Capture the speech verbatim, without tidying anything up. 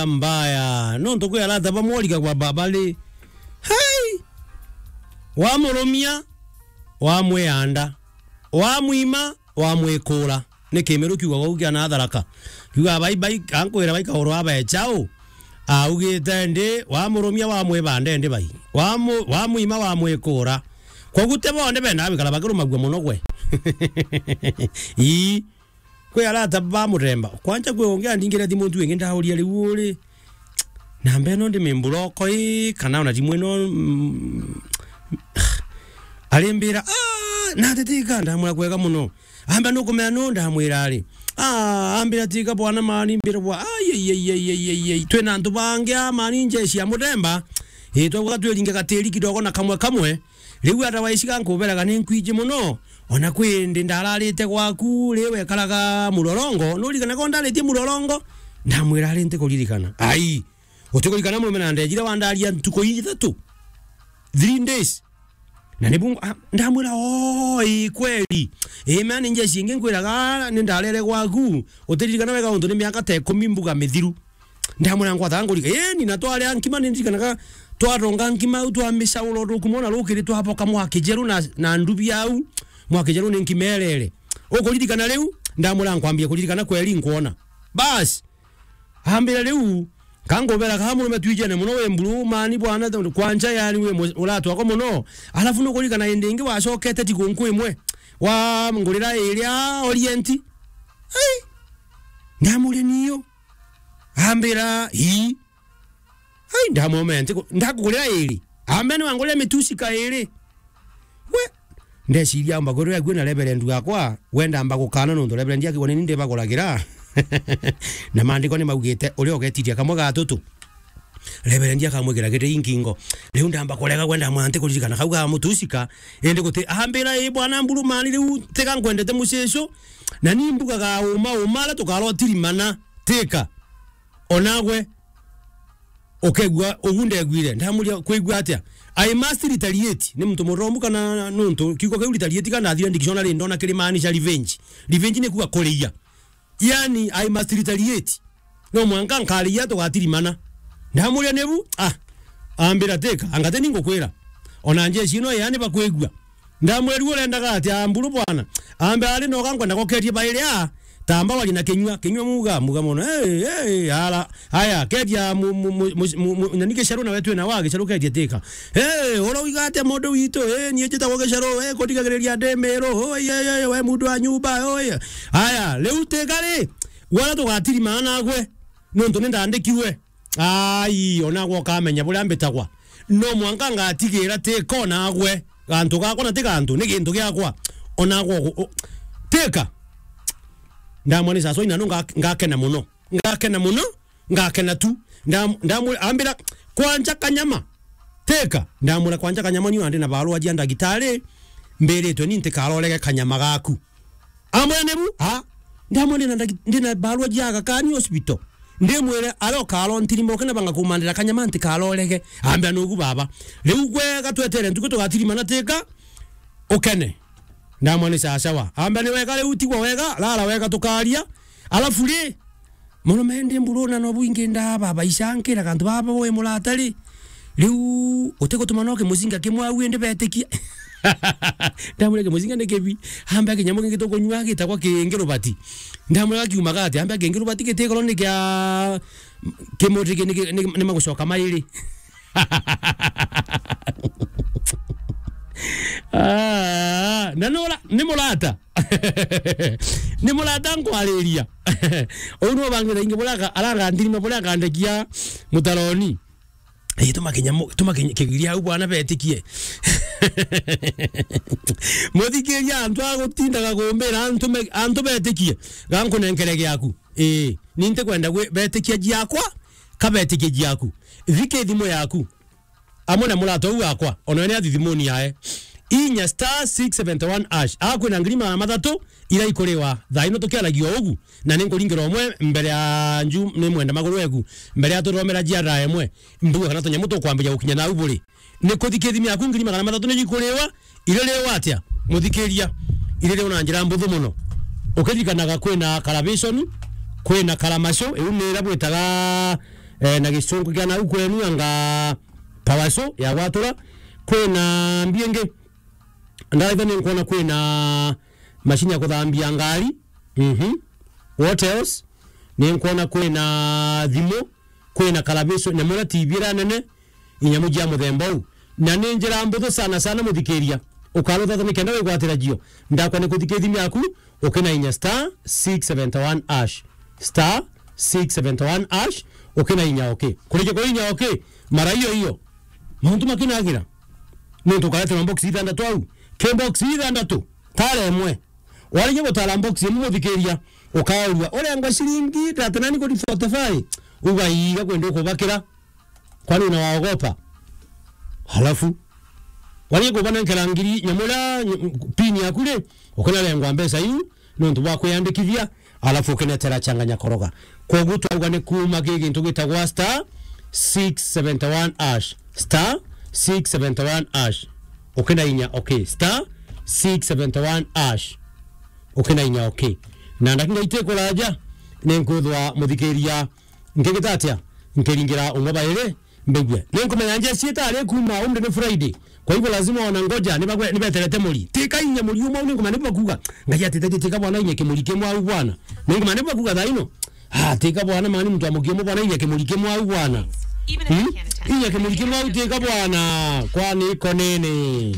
mbaya. Nontu kwi arata bamwe urigagwa baba ri. Hai! Wamurumia, wamwianda. Wamwima, wamwikura. Ni Kimiru kiugaga uu kia na Tharaka. Kiugaga, "Bai, bai, ankwira bai kauru abecha u." Augite ndi, wamurumia, wamwibanda ndi bai. Wamu-, wamwima, wamwikura. Koguo ti bonthe bendaga gwikara bakirumagua mono gwe. Ii. Kwi arata ba muthemba. Kwanja kwi ungi andingire thimu ntu ingi ndauria riu uri. Namba ino ndi mimburoko ii, kana ona thimu ino, mm, arimbira, "Ah, na tetika," ndamwira, "Kwega mono." Amba nukumenya nu? Ndamwira ari. Ah, ambira, "Tika bwana mani," mbira bwa, "Ai, ai, ai, ai, ai, ai, ai. Twina antu bangi a mani njeshi ya muthemba. Ii, twauga twiringe gatiri kidogo na kamwe kamwe. Riu otherwise gankuberaga ni nkwiji mono. Ona kwi ndi ndararite gwaku, ri wekaraga Murorongo, nuririkanaga ndaritie Murorongo?" Ndamwira, "Ari ntikuririkana." "Ai, utikuririkana mumena ndejire wandaria ntuku ithatu? Three days?" Na ni bungu, ah, ndamwira, "Oh, ii kweli. Ii, mea ni njeshi ingi nkwiraga ni ndarere gwaku. Utiririkana wega untu ni miaka ta ikumi mbuga mithiru." Ndamwira, "Ngwataga ngurika." Ii, ni na twaria nkima ni ndirikanaga twaronga nkima au twamicaura utuku mona rukiri twaboka Mwakijeru na, na ndubi au. Mwakijeru ni nkima erere. Ukuririkana riu? Ndamwira, "Nkwambia kuririkana kweli nkwona." Bas. Ambira riu, kangubera ka murume twijene mono wi mburu mani bwana, kwanja yani wi mu-, uratwako mono. Alafu nukurikana indi ingi wacokete tigunku imwe. Wa ngurira iria Orient. Ai! Ndamuria niyo. Ambira, "Ii." Ai, ndamwomea ntiku-, ndakugurira iri. Ambe ni wangurira mitusi ka iri. We, ndeciria amba kwirira ague na Reverend wakwa, wenda amba gukana nontu Reverend akigwa ni ni ndibaguragira. Na maandiko ni maugite, uria ugetiria kamwe ga tutu, Reverend akamwikira giti inkingo. Riu ndamba kurega gwenda mwanti kuririkana kau ga mutusi ka, indi guti, ambira, "Ii bwana mburu mani, riu tiga nkwendete mucicu, na ni mbugaga uma uma aria tukarwa tirimana, tika." Onagwe ukegua ugu ndegwire. Ndamuria, "Kwigua atia?" "I must retaliate." Ni muntu murombu kana nuntu kiugo kiu retaliate kana ndathire dictionary ndona kirimaanisha revenge. Revenge ni kuuga kuriia. Yani, "I must retaliate." No mwanka nkariia tugatirimana. Ndamuria, "Nibu?" Ah, ambira, "Tika, anga ti ni ngukwira. Ona njeshi ino yani bakwigua." Ndamwira, "Urendaga atia mburu bwana?" Ambe, "Ari noga nkwenda gokeria bairi a tamba wari na kinyua, kinyua muga, muga mono. Hey, hey, ara, aya, keria mu, mu, mu, mu, mu, mu, nani gicaru nawe twina wa gicaru keria tika. Hey, uroiga atia mundu witu? Hey, nie njitagwo gicaru, hey, kundigagiriria ndi Miru, oi, oi, oi, we mundu wa nyumba, oi." Aya, riu tika ri, wala tugatirimana nagwe, nontu ni ndandikirwe. Ai, onagwe ukamenya buria mbitagwa. No mwanka ngatigira tika onagwe. Gantu gakwa na ti gantu, ni gintu giakwa. Onagwe ugu-, u-, tika. Ndamwani sasa ina no nga-, ngakena muno. Ngakena muno, ngakena tu. Ndam-, ndamwira, ambira, "Kwanja kanyama." Tika. Ndamwira, "Kwanja kanyama ni wandi na barua jia ndagitari, mbiritwe ni ntikarorege kanyama gaku." Amwene bu, ha? Ndamwene na ndagi-, ndina barua jia Aga Khan Hospital. Ndimwire, "Ari ukaro ntirima ukena banga kumandira kanyama ntikarorege." Ambia, "Nugu baba. Riu gwega twetere ntuku tugatirimana tika, ukene." Ndamwene, "Sawa sawa." Ambia, "Ni wega riu tigwa wega, rara wega tukaria." Alafu ri, murume ndi mburuna no bwingi nda baba icankira kantu baba we murata ri. Riu utigutuma no kimucinga kimwe au indi betikia. Ndamwira, "Kimucinga ni kibi." Ambe kinyamu kingi tukunyua gitagwa kingi rubati. Ndamwira, "Kiumaga atia?" Ambe, "Kingi rubati gitigoro ni kia kimuti ki-, ni ki-, ni, ni magucoka mairi." Ah, na nura, ni murata. Ni murata nkwariria. Uu niwe bangi thaingi buria aka-, aranga ndirima buria akandekia mutaroni. Ii, tuma kinya mu-, tuma kinya kigiria au bwana betikie. Muthikiria antu agutindaga kumbira antu me-, antu betikie. Gankunenkere giaku. Ii, ni ntikwenda gwi-, betikia jiakwa, ka betikie jiaku. Thiki thimu yaku. Amwe na murata uu wakwa, ona we ni athithimuni yae. Inya star six seventy one hash. Akwina ngiri magana mathatu ira ikuriwa. Thaa ino tukiaragia ugu, na ni nkuringira umwe mbere ya nju, ni mwenda maguru eku, mbere ya tuthomera jiara imwe, mbuga kana tunyamu tukwambiria gukinya nau buri. Ni kuthi kithimi yaku ngiri magana mathatu ni ikuriwa, iririwa atia? Muthikiria, iririwa na njira mbuthu muno. Ukiririkanaga kwina Karabiconi, kwina Karamaco, iu ni ira bwitaga eh, na gicunku kia nau kwenu anga Power Show ya gwatura. Kwina mbi ingi? Ndaitha ni nkwona kwina mashini ya kuthambia ngari. Mhm. What else? Ni nkwona kwina thimu, kwina karabico, nyamu iria T V iria nene, inyamu jia muthemba uu. Na ni njira mbuthu sana sana, muthikiria. Ukarutha nikenda wigwatira jio. Ndakwa ni kuthikithimia aku, ukinainya star six seventy one hash. Star six seventy one hash, ukinainya okay. Kurike kuinya okay, mara iyo iyo. Mauntu makinagira. Nontu ukaretera box ithandatu au. Ke box ithandatu, tara imwe. Warige gutara box imwe, muthikiria, ukaurua. Urengwa ciringi thirty nine kuri forty five. Ugaiga kwenda ukubakira. Kwani unawaogopa? Halafu, warige kubanenkera ngiri nyamu iria, ny-, pin yaku ri, ukinarengwa mbeca iu, nontu bwa kwiyandikithia, alafu ukinetera changanya koroga. Kwogu twauga ni kuuma ki gintu gitagwa star six seventy one hash. Star six seventy one hash. Ukinainya okay. Star six seventy one hash. Ukinainya okay. Na ndakika itikuraja, ni nkwithwa muthikiria nkigita atia? Nkiringira umwe bairi, mbigue. Ni nkumenya njeci itari kuuma umri ni Friday. Kwa hivyo lazima ona ngoja, nibagwe-, nibeterete muri. Tika inya muri umwe, ni nkumenya nibakuga. Ngai atitetie tika bwana inya kimuri kimwe au bwana. Ni nkumenya nibakuga thaa ino. Ah, tika bwana mani muntu amukie mu bwana inya kimuri kimwe au bwana. Hmm? Inya kimuri kimwe au tika bwana. Kwani iko nini?